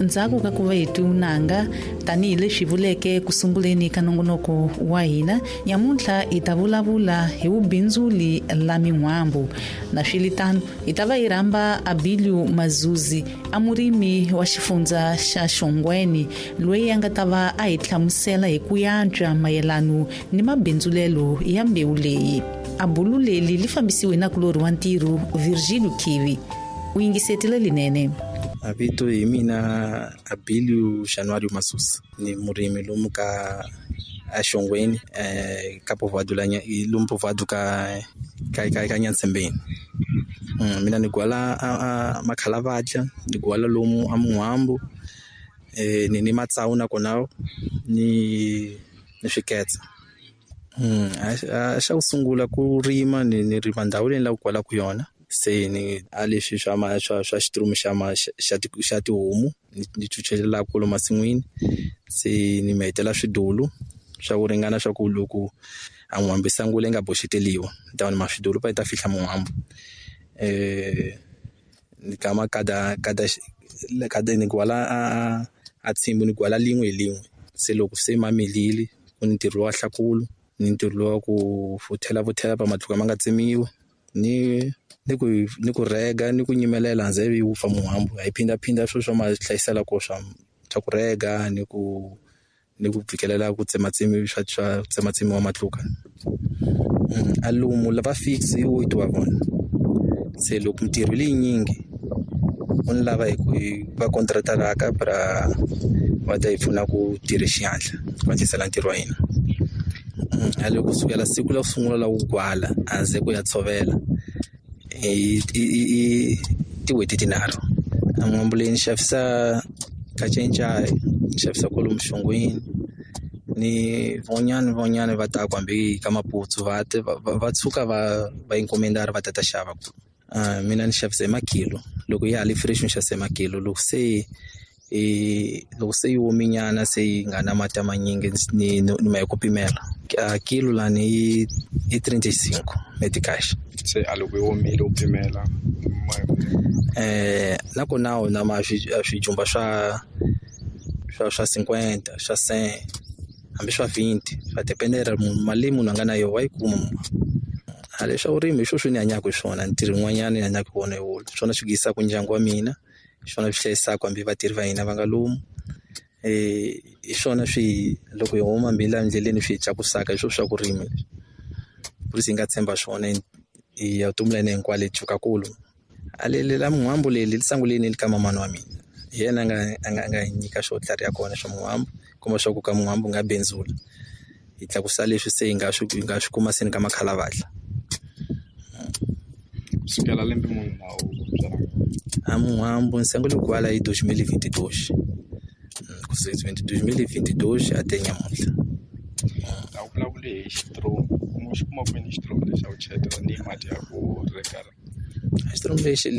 Ndzhaku ka ku va hi tiunanga tanihileswi vuleke ku sunguleni ka nongonoko wa hina nyamuntlha, hi ta vulavula hi vubindzuli la min'wambu. Na swilitano hi ta va hi rhamba Abilio Mazuzi, a murimi wa xifundza xa Xongweni, loyi a nga ta va a hi hlamusela hi ku yantswa mayelano ni mabindzulelo ya mbewu leyi. A bulu leli li fambisiwe na kulorhi wa ntirho Virgilio Kivi. U yingisetile linene. A vito hi mina Abilio Januário Masusa, ni murimi lomu ka aXongweni, ka povoado la lomu povoado ka Nyatsembeni. Mina ni gwala a makhalavatla, ni gwala lomu a Mun'wambu, ni ni matsawu nakona ni swiketsa. A xa ku sungula ku rima, ni rima ndhawu leyi ni lavaka ku gwalaka yona. Se ni a leswi swa ma swa xiturumu xa ma xa xa tihomu, ni chuchelela kolo masin'wini. Se ni mi hetela swidulu swa ku ringana swa ku loko a n'wambu yi sungula yi nga boxeteriwa, ni ta ma swidulu pa yi ta fihla mun'wambu. Ni kama kada kada kada ni gwala a tshimbu, ni gwala lin'we hi lin'we. Se loko se ma milile, ku ni ntirho wa hlakula, ni ntirho lowa ku futhela futhela pa matluka ma nga tsemiwi, ni ku rega, ni ku nyimelela hanze yi wupfa muhambu. Hi phindaphinda swilo swa ma hlayisela ko swa ku rega ni ku fikelela ku tsematsemiwa swa tsematsemiwa matluka. A lomu lava fix i 8 wa vona. Se loko mintirho leyinyingi u ni lava hi ku va contractaraka pra va ta hi pfuna ku tirha xihatla ku hatlisela ntirho wa hina. A loko kusukela siku la ku sungula la ku gwala hanze ku ya tshovela i tin'hweti tinharhu. A n'wambu leyi ni xavisa ka Cencai, ni xavisa kwalomu Xongweni, ni van'wanyani van'wanyani va ta ku hambi ka Maputsu va ta va tshuka va encomendara va ta ta xava. Mina ni xavisa hi makilo, loko ya ha ri fresh ni xavisa hi makilo, loko se yi ominyana, se yi nga na mati manyingi, ni ma hi ku pimela. A kilo lani i 35 meticais. Se a loko yi omile u pimela? Nakona na ma swijumba swa 50, swa 100, hambi swa 20, swa dependera mali leyi munhu a nga na yona, wa yi kuma. A leswa vurimi hi swona swi ni hanyaka hi swona, ntirho wun'wanyana ni hanyaka hi wona hi wona. Swona swi yisaka ndyangu wa mina, hi swona swi hlayisaka hambi vatirhi va hina va nga lomu. Hi swona swi loko hi huma hambi laha endleleni swi hi tlakusaka, hi swona swa ku rima leswi. Ku hi nga tshemba swona hi vutomi la hina hinkwalo hi tshuka kulu. A leli la mun'wambu leli li sunguleni ka mamani wa mina. Hi yena a nga hi nyika xo tlhariha kona xa mun'wambu, kuma swa ku ka mun'wambu nga bindzula. Hi tlakusa leswi se hi nga swi kuma se ni ka makhalavatla. Kusukela lembe muni na u byala? A mun'wambu ni sungule ku gwala hi 2022. Kusuka 2022 até nyamuntlha. A wu vulavuli hi xitiromu, u xi kuma kwini xitiromu lexi a wu cheleta ni mati ya ku reka? Xitiromu lexi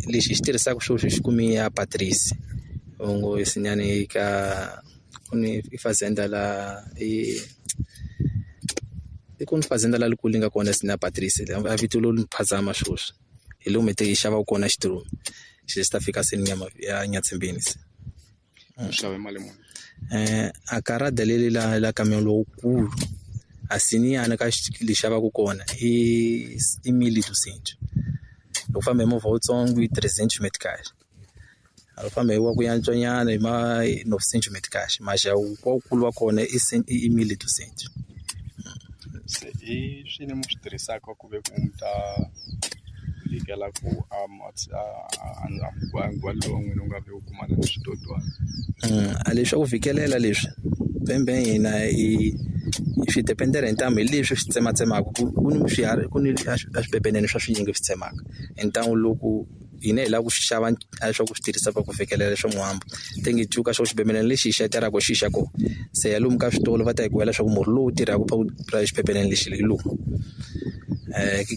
hi xi tirhisaka sweswi, xi kumi ya Patrice ngo sinyani ka ku ni i fazenda la i ku ni fazenda la likulu yi nga kona sina Patrice, a vito lo ni phazama sweswi. Hi lomu hi xavaka kona xitiromu xi xi ta fika se nyama ya Nyatsembeni se. U xave mali muni? A karada leli la camion lowukulu a siniyana ka lexi xavaka kona i 1200. Loko u famba hi movha wutsongo i 300 meticais, a famba hi wa ku yantswa nyana hi ma 900 meticais, mas wukulu wa kona i 1200. Se i swini mi swi tirhisaka ku ve ku mi ta vikela ku a nkwalo wa n'wina wu nga vi wu kumana na switotwana? A leswi swa ku fikelela leswi bembe hina hi swi dependela hi ntamu, hi leswi swi tsematsemaka. Ku ni swiharhi, ku ni a swipepenene swa swinyingi swi tsemaka hi ntamu. Loko hina hi lava ku swi xava a swa ku swi tirhisa ku fikelela swa muhambu tenge cuka xo xibebelana lexi hi xateraka xi xa kona, se ya lomu ka switolo va ta hi kwela leswaku murhi lowu tirhaka pa xibebelana lexi hi lowu.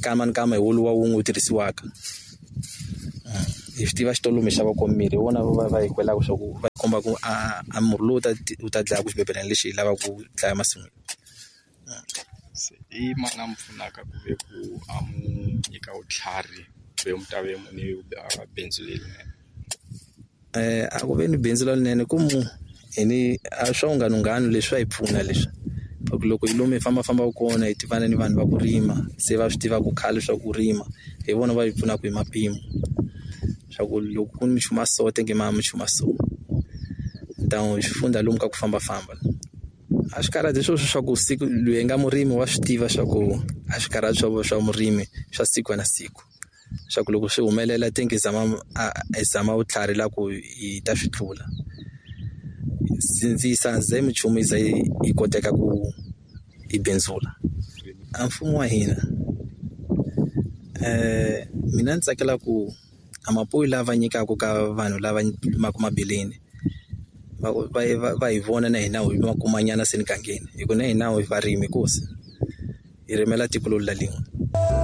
Kama ni kama hi woluwa wun'we wu tirhisiwaka. Hi swi tiva xitolo lomu hi xavaka kona mirhi, hi wona va hi kwelaka swa ku va komba ku a murhi lowu wu ta dlaya ku xibebelana lexi hi lavaka ku dlaya masin'wini. Se i mani a mi pfunaka ku ve ku a mu nyika vutlhari ve mi ta ve ni bindzu lerinene? A ku ve ni bindzu lerinene ku mu hi ni a swa vunghanunghanu leswi swa hi pfuna leswi ku loko hi lomu hi fambafambaka kona hi tivana ni vanhu va ku rima se va swi tiva ku khale swa ku rima hi vona va hi pfunaka hi mapimo swa ku loko ku ni minchumu ya so tenge ma minchumu ya so hi swi fundza lomu ka ku fambafamba. A swi karhati sweswo swa ku siku loyi nga murimi wa swi tiva swa ku a swi karhati swa murimi swa siku na siku swa ku loko swi humelela tenge hi zama hi zama vutlhari la ku hi ta swi tlula sindzisa ze minchumu yi za yi koteka ku yi bindzula. A mfumo wa hina mina ni tsakela ku a mapuwe lava nyikaka ka vanhu lava limaka mabeleni va va hi vona na hina hi ma kumanyana se mugangeni hi ku na hina hi varimi nkosi hi rimela tiko lolu la lin'we.